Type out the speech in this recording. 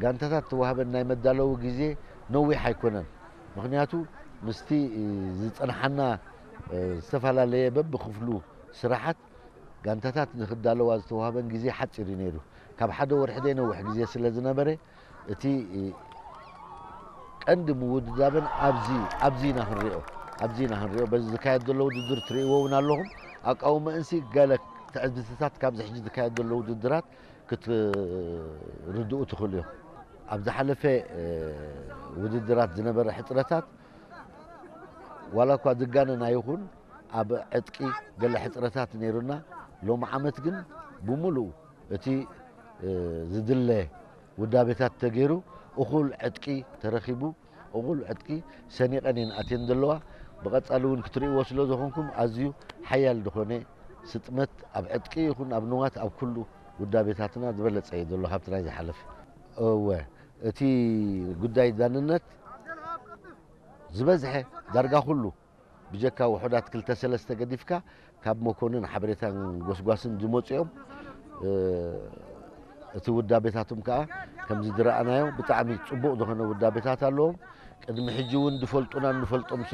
ጋንታታት ተዋህበን ናይ መዳለዊ ግዜ ነዊሕ ኣይኮነን። ምኽንያቱ ምስቲ ዝጸንሓና ዝተፈላለየ በብክፍሉ ስራሓት ጋንታታት ንክዳለዋ ዝተዋህበን ግዜ ሓጺር እዩ ነይሩ። ካብ ሓደ ወርሒ ዘይነውሕ ግዜ ስለ ዝነበረ እቲ ቀንዲ ምውድዳበን ኣብዚ ኣብዚ ኢና ክንሪኦ ኣብዚ ኢና ክንሪኦ በዚ ዝካየድ ዘሎ ውድድር ትርእይዎ እውን ኣለኹም። ኣቃውመእንሲ ገለ ትዕዝብትታት ካብዚ ሕጂ ዝካየድ ዘሎ ውድድራት ክትርድኡ ትኽእሉ እዮም። ኣብ ዝሓለፈ ውድድራት ዝነበረ ሕፅረታት ዋላ እኳ ዝጋነን ኣይኹን ኣብ ዕጥቂ ገለ ሕፅረታት ነይሩና። ሎም ዓመት ግን ብምሉኡ እቲ ዝድለ ውዳቤታት ተገይሩ እኹል ዕጥቂ ተረኺቡ እኹል ዕጥቂ ሰኒቐን እየን ኣትየን ዘለዋ። ብቐጻሊ እውን ክትርእይዎ ስለ ዝኾንኩም ኣዝዩ ሓያል ዝኾነ ስጥመት ኣብ ዕጥቂ ይኹን ኣብ ንዋት ኣብ ኩሉ ውዳቤታትና ዝበለጸ እዩ ዘሎ ካብቲ ናይ ዝሓለፈ። እወ እቲ ጉዳይ ዳንነት ዝበዝሐ ዳርጋ ኩሉ ብጀካ ውሑዳት ክልተ ሰለስተ ገዲፍካ ካብ መኮንን ሓበሬታን ጎስጓስን ዝመፁ እዮም። እቲ ውዳቤታቶም ከዓ ከምዚ ዝረኣናዮ ብጣዕሚ ፅቡቕ ዝኾነ ውዳቤታት ኣለዎም። ቅድሚ ሕጂ እውን ዝፈልጡና ንፈልጦም ስለ